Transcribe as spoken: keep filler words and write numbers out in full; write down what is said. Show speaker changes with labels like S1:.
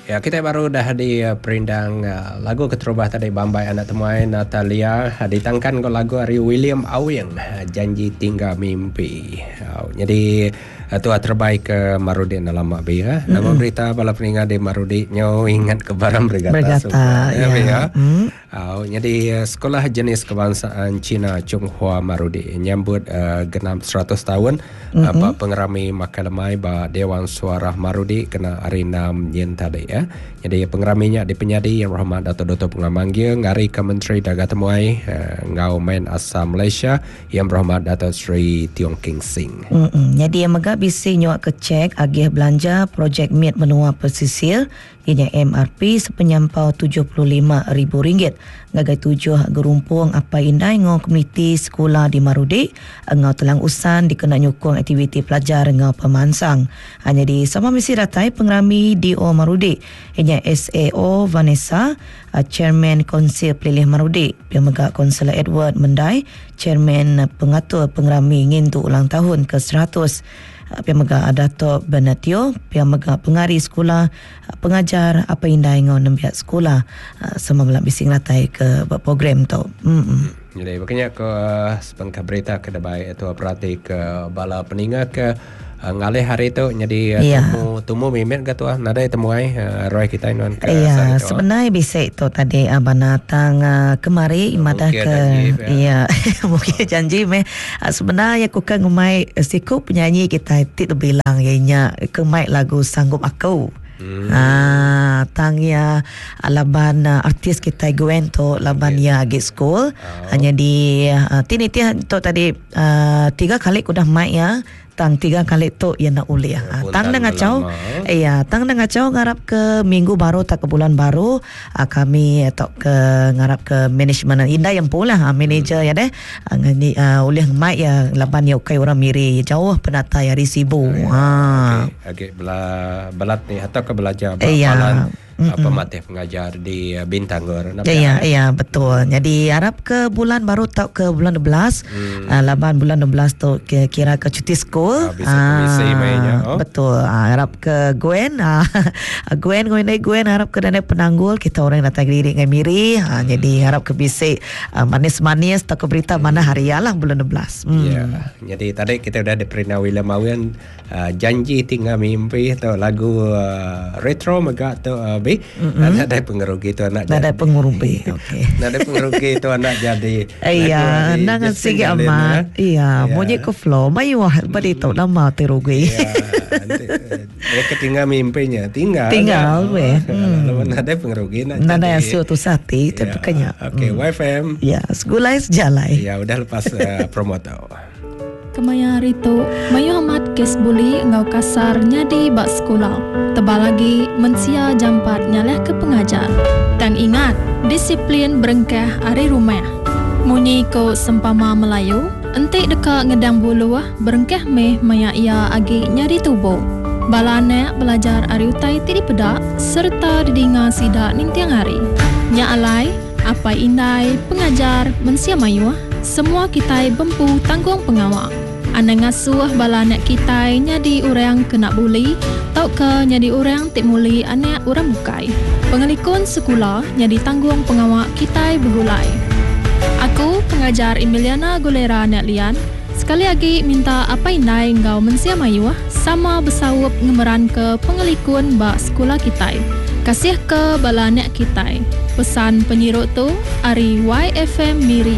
S1: Ya, kita baru dah di uh, perindang uh, lagu keterubah tadi Bambai Anak Temuai Natalia uh, ditangkan ke lagu ari William Awing uh, Janji Tinggal Mimpi. Uh, jadi uh, tu terbaik ke Marudi dalam mak bi ya. Nama mm-hmm. berita bala peninga di Marudi nyo ingat ke barang bergata.
S2: Bergata,
S1: ya.
S2: Ya.
S1: Ya.
S2: Mm.
S1: Uh, jadi Sekolah Jenis Kebangsaan Cina Chunghua Marudi nyambut uh, genap seratus tahun mm-hmm. uh, ba pengerami makan lemai ba Dewan Suara Marudi kena hari enam yen tadi ya. Jadi pengeraminya di penyadi Yang Berhormat Dato' Doktor Pengamanggil ngari ke Menteri Dagang Temuai uh, ngau main asal Malaysia Yang Berhormat Dato' Sri Tiong King Sing.
S2: Mm-mm. Jadi yang megah bisi nyuak ke cek agih belanja projek Miat Menua Pesisir ianya M R P sepenyampau tujuh puluh lima ribu ringgit ngagai tujuh gerumpung apa indai ngau komuniti sekolah di Marudi ngau telang usan dikena nyukung aktiviti pelajar ngau pemansang. Hanya di sama misi ratai pengerami D O Marudi ianya S A O Vanessa, Chairman Konsil Pelilih Marudi, pihak megah Konselor Edward Mendai, Chairman Pengatur Pengerami Ngintu Ulang Tahun ke seratus, pihak megah Dato' Bernatio, pihak megah pengari sekolah, pengajar apa indai ngau nembiak sekolah sama melak bising ratai ke program tu. Mm-mm.
S1: Jadi makanya ke sebengkah berita ke debai itu perhati ke bala peninga ke uh, ngalih hari tu jadi uh,
S2: ya.
S1: Temu temu mimet ke tuah nadai temuai uh, roy kita non ke
S2: ya sebenarnya bisa itu tadi abang datang uh, kemari madah ke ya mungkin janji meh uh, sebenarnya aku kan ngumai siku penyanyi kita tik bilang ianya kemai lagu Sanggup Aku. Hmm. Ah, tang ya laban uh, artis kita Gwen tu laban ya yeah, agak school. Oh. Hanya di uh, tini tia tu tadi uh, tiga kali udah mai ya. Tang tiga kali tu ya nak ulih. Ya, tang dah ngacau. Iya, tang dah ngacau ngarap ke minggu baru tak ke bulan baru kami atau ke ngarap ke management indah yang pula ha, manager hmm. ya deh. Ngani uh, ulih mai ya laban ya ukai orang miri jauh penata ya risibu.
S1: Ya,
S2: ha.
S1: Okey, okey bela belat ni atau ke belajar
S2: ya.
S1: Apa matih pengajar di Bintangor.
S2: Ya, ya, betul. Jadi harap ke bulan baru tak ke bulan dua belas. Hmm. Uh, laban bulan dua belas tu kira ke cuti school.
S1: Ah, bisa komisi mainnya. Oh.
S2: Betul. Ah, harap ke Gwen. Ah, Gwen, Gwen, Gwen harap ke dana penanggul kita orang datang diri dengan miri. Ah, hmm. Jadi harap ke bisik uh, manis-manis tak ke berita hmm. mana hari lah bulan dua belas. Hmm.
S1: Ya. Jadi tadi kita dah diperina William Awen uh, janji tinggal mimpi atau lagu uh, retro megak tu uh, Mm-hmm. Ada pengerugi tu anak
S2: jadi. Ada pengerugi. Okey.
S1: Ada pengerugi tu anak jadi.
S2: Iya, nangan sigi amat. Iya, munyi ke flow. Mayu pada itu nama terugi.
S1: Iya. Mereka tinggal mimpinya, tinggal.
S2: Tinggal weh.
S1: Lalu ada pengerugi nak
S2: jadi. Nada hasil tu sati, tapi kanya.
S1: Okey, Y F M.
S2: Ya, segulai sejalai.
S1: Ya, udah lepas promo tau.
S3: Kemaya hari tu, mayu amat kes buli ngau kasar nyadi bak sekolah. Tebal lagi, mensia jampat nyalah ke pengajar. Tang ingat, disiplin berengkah ari rumah. Munyi ko sempama Melayu, entik deka ngedang buluh, berengkah meh maya ia agi nyadi tubuh. Bala anak belajar ari utai ti dipedak serta didinga sidak nintiang hari. Nya alai, apai indai, pengajar, mensia mayuh, semua kitai bempu tanggung pengawak. Anak ngasuh bala anak kitai nyadi orang kena buli tau ke nyadi orang tik muli anak orang bukai. Pengelikun sekolah nyadi tanggung pengawak kitai bergulai. Aku pengajar Emiliana Gulera Anak Lian sekali lagi minta apa indai ngau mensia mayuh sama besaup ngemeran ke pengelikun bak sekolah kitai. Kasih ke bala anak kitai. Pesan penyirut tu ari Y F M Miri.